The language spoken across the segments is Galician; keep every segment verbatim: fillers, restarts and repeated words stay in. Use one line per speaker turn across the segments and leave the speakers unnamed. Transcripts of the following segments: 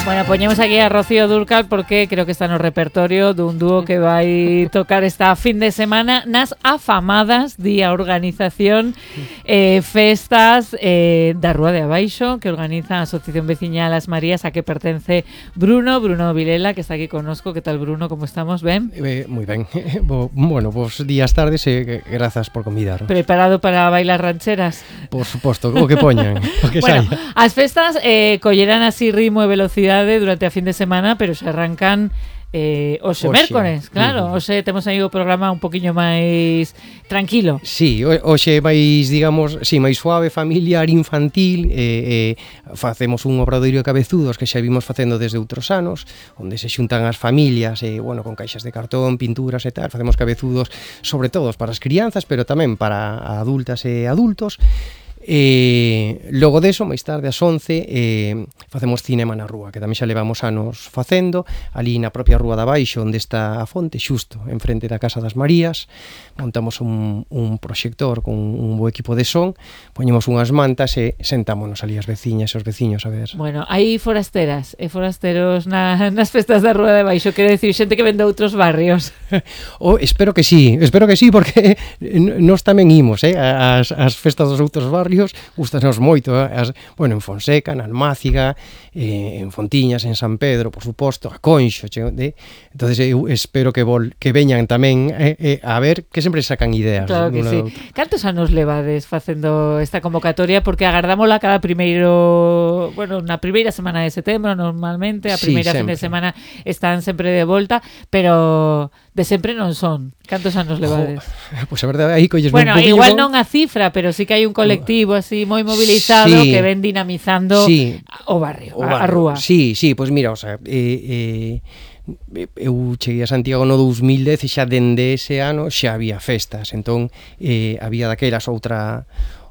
Bueno, poñemos aquí a Rocío Dúrcal porque creo que está no repertorio dun dúo que vai tocar esta fin de semana nas afamadas día organización eh, festas eh, da Rúa de Abaixo que organiza a Asociación Veciñal As Marías a que pertence Bruno, Bruno Vilela, que está aquí connosco. Que tal, Bruno? Como estamos? Ben?
Eh, moi ben. Bo, bueno, vos días tardes e eh, grazas por convidar.
Preparado para bailar rancheras?
Por suposto, o que poñan, o que
bueno,
saia.
As festas eh, collerán así ritmo e velocidade durante a fin de semana, pero se arrancan eh, hoxe,
Oxe.
mércores, claro.
Uh-huh.
Hoxe temos aí o programa un poquinho máis tranquilo.
Sí, hoxe máis, digamos, sí, máis suave, familiar, infantil, eh, eh, facemos un obradoiro de cabezudos que xa vimos facendo desde outros anos, onde se xuntan as familias, eh, bueno, con caixas de cartón, pinturas e tal, facemos cabezudos sobre todo para as crianzas, pero tamén para adultas e adultos. E logo deso, máis tarde ás once eh, facemos cinema na rúa, que tamén xa levamos anos facendo ali na propia Rúa de Abaixo, onde está a fonte, xusto enfrente da Casa das Marías. Montamos un, un proxector con un bo equipo de son, poñemos unhas mantas e sentámonos ali as veciñas e os veciños a ver.
Bueno, hai forasteras e forasteros na, nas festas da Rúa de Abaixo, quero dicir, xente que ven de outros barrios.
Oh, espero que sí, espero que sí, porque nós tamén imos, eh, as, as festas dos outros barrios gustanos moito, eh? As, bueno, en Fonseca, na Almáciga, eh, en Fontiñas, en San Pedro, por suposto, a Conxo, che, de, entonces eu espero que vol, que veñan tamén eh, eh, a ver, que sempre sacan ideas.
Claro que sí. Cantos anos levades facendo esta convocatoria? Porque agardámola cada primeiro, bueno, na primeira semana de setembro normalmente, a primeira sí, fin de semana están sempre de volta, pero de sempre non son. Cantos anos levades?
Oh, pois pues a verdade, aí colles
bueno,
un poquinho.
Igual non a cifra, pero sí que hai un colectivo así moi mobilizado sí, que ven dinamizando sí, o barrio, o barrio, a, a rúa.
Sí, sí, pois pues mira, o sea, eh, eh, eu cheguei a Santiago no dos mil dez e xa dende ese ano xa había festas, entón eh, había daquelas outra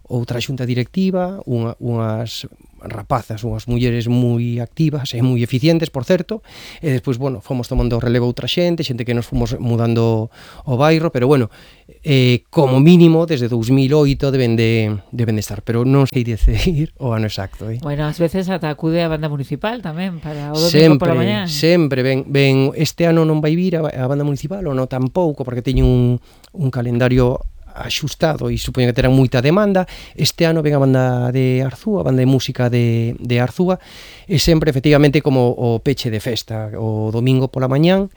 outra xunta directiva, unha, unhas rapazas, unhas mulleres moi activas e moi eficientes, por certo, e despois, bueno, fomos tomando relevo outra xente, xente que nos fomos mudando o bairro, pero bueno, eh, como mínimo, desde dos mil oito deben de, deben de estar, pero non sei decidir o ano exacto. Eh.
Bueno, ás veces ata acude a banda municipal tamén, para o domingo
sempre,
pola mañá.
Sempre, ben, ben, este ano non vai vir a, a banda municipal, ou non tampouco, porque teñen un, un calendario axustado e supoño que terán moita demanda. Este ano ven a banda de Arzúa, a banda de música de, de Arzúa, e sempre efectivamente como o peche de festa, o domingo pola mañán,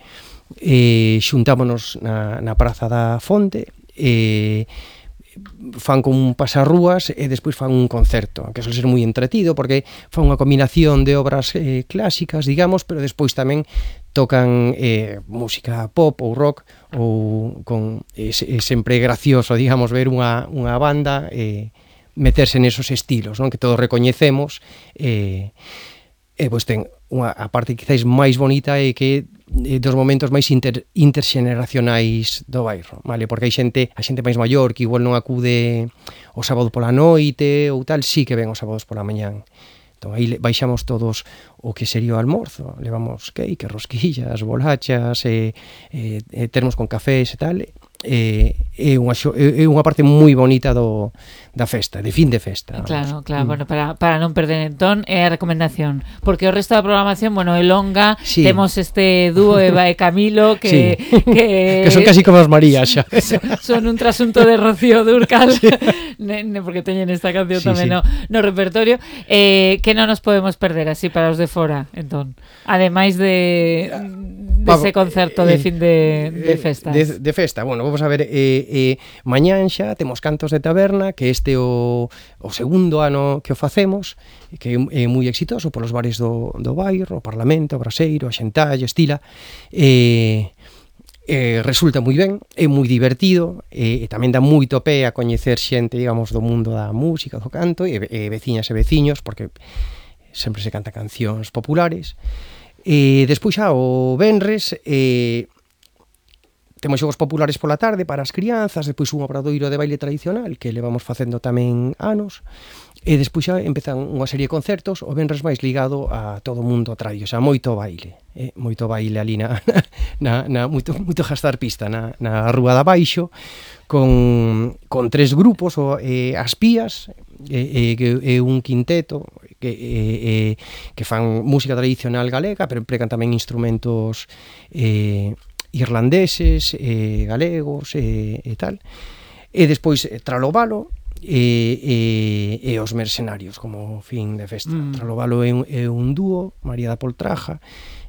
e xuntámonos na, na Praza da Fonte, e fan con un pasarrúas e despois fan un concerto, que suele ser moi entretido porque fan unha combinación de obras eh, clásicas, digamos, pero despois tamén tocan eh, música pop ou rock, ou con é, é sempre gracioso, digamos, ver unha, unha banda e eh, meterse nesos estilos, non? Que todos recoñecemos, e eh, eh, pois ten unha, a parte quizáis máis bonita é que eh, dos momentos máis inter, interxeneracionais do bairro, vale? Porque hai xente, a xente máis maior que igual non acude o sábado pola noite ou tal, sí que ven os sábados pola mañán. Entón, aí baixamos todos o que sería o almorzo, levamos cake, rosquillas, bolachas, e, e, e termos con cafés e tal, e é unha, é unha parte moi bonita do, da festa, de fin de festa.
Claro, claro, mm. bueno, para, para non perder entón é a recomendación, porque o resto da programación, bueno, é longa, sí. Temos este dúo Eva e Camilo que,
sí.
que,
que son casi como as Marías xa.
Son, son un trasunto de Rocío Dúrcal, sí. ne, ne, porque teñen esta canción sí, tamén sí. No, no repertorio, eh, que non nos podemos perder así para os de fora, entón, ademais de dese de concerto de fin de, de festas.
De, de festa, bueno, vamos a ver, eh, eh, mañán xa temos cantos de taberna, que este o, o segundo ano que o facemos, que é moi exitoso polos bares do, do bairro, o Parlamento, o Braseiro, a Xentalla, Estila, e... Eh, resulta moi ben, é moi divertido, e, e tamén dá moito pé a coñecer xente, digamos, do mundo da música, do canto, e, e veciñas e veciños, porque sempre se canta cancións populares. E despois xa o venres eh, temos xogos populares pola tarde para as crianzas, despois un obradoiro de baile tradicional que levamos facendo tamén anos, e despois xa empezan unha serie de concertos, o venres máis ligado a todo o mundo tradio, xa moito baile, eh, moito baile ali na, na, na moito, moito gastar pista na, na Rúa de Abaixo, con, con tres grupos, o, eh, as pías, e, e, e un quinteto, que, eh, eh, que fan música tradicional galega, pero empregan tamén instrumentos eh, irlandeses, eh, galegos e eh, tal. E despois eh, Tralovalo e, e, e os Mercenarios como fin de festa. Mm. Tralovalo é un, é un dúo, María da Poltraja,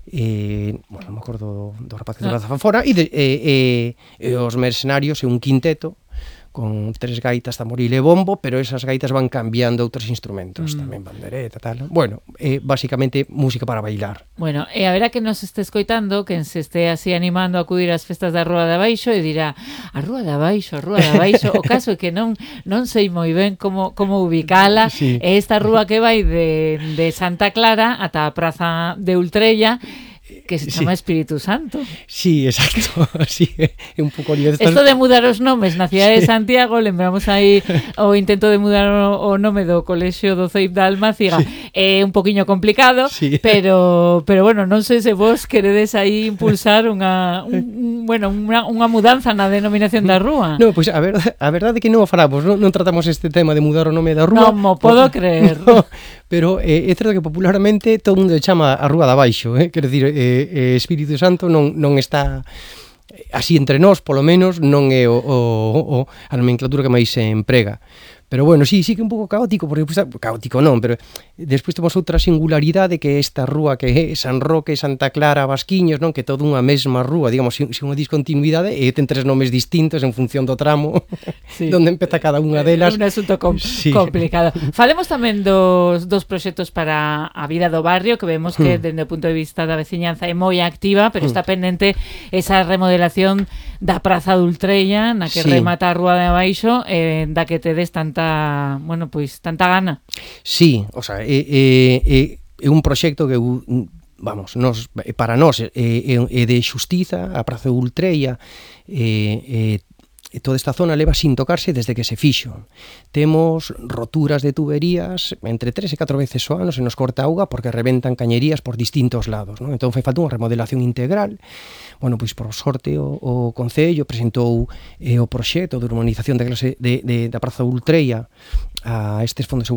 e, bueno, non me acordo do rapaz que ah. da Fanfora, e, de, e, e, e os Mercenarios é un quinteto con tres gaitas, tamboril e bombo, pero esas gaitas van cambiando outros instrumentos, mm. tamén bandereta, tal. Bueno, é basicamente música para bailar.
Bueno, e a ver a que nos este escoitando, que se este así animando a acudir ás festas da Rúa de Abaixo e dirá, a Rúa de Abaixo, a Rúa de Abaixo, o caso é que non non sei moi ben como como ubicala, sí. É esta rúa que vai de, de Santa Clara ata a Praza de Ultrella, que se chama sí. Espírito Santo.
Sí, exacto. Sí, é un pouco lío.
Esto de mudar os nomes na cidade sí. de Santiago, lembramos aí o intento de mudar o, o nome do colexio do Ceib da Almáciga, sí. É un poquiño complicado, sí. pero pero bueno, non sei se vos queredes aí impulsar unha un, bueno, unha, unha mudanza na denominación da rúa.
No, pois pues, a verdade, a verdade é que non o falamos, non, non tratamos este tema de mudar o nome da rúa.
Non mo podo por... creer.
No, pero eh, é certo que popularmente todo o mundo chama a Rúa de Abaixo, eh? Quero dicir, eh, eh, Espírito Santo non, non está así entre nós, polo menos non é o, o, o, a nomenclatura que máis se emprega. Pero bueno, sí, sí que é un pouco caótico, porque pues, caótico non, pero despois temos outra singularidade que é esta rúa que é San Roque, Santa Clara, Basquiños, non, que é toda unha mesma rúa, digamos, sin, sin unha discontinuidade, e ten tres nomes distintos en función do tramo, sí. Donde empeza cada unha delas.
É un asunto com sí. complicado. Falemos tamén dos, dos proxectos para a vida do barrio, que vemos que, hmm. dende o punto de vista da veciñanza, é moi activa, pero hmm. está pendente esa remodelación da Praza de Ultrella, na que sí. remata a Rúa de Abaixo, eh, da que tedes tanta, bueno, pois, tanta gana.
Sí, o sea, é, é, é un proxecto que, vamos, nos, para nós é, é de xustiza, a Praza de Ultrella, é, é e toda esta zona leva sin tocarse desde que se fixo. Temos roturas de tuberías entre tres e catro veces ao ano, se nos corta auga porque reventan cañerías por distintos lados, non? Entón fai falta unha remodelación integral. Bueno, pois por sorte o, o Concello presentou eh, o proxecto de urbanización de clase de, de, da Praza de Ultrella a estes fondos europeos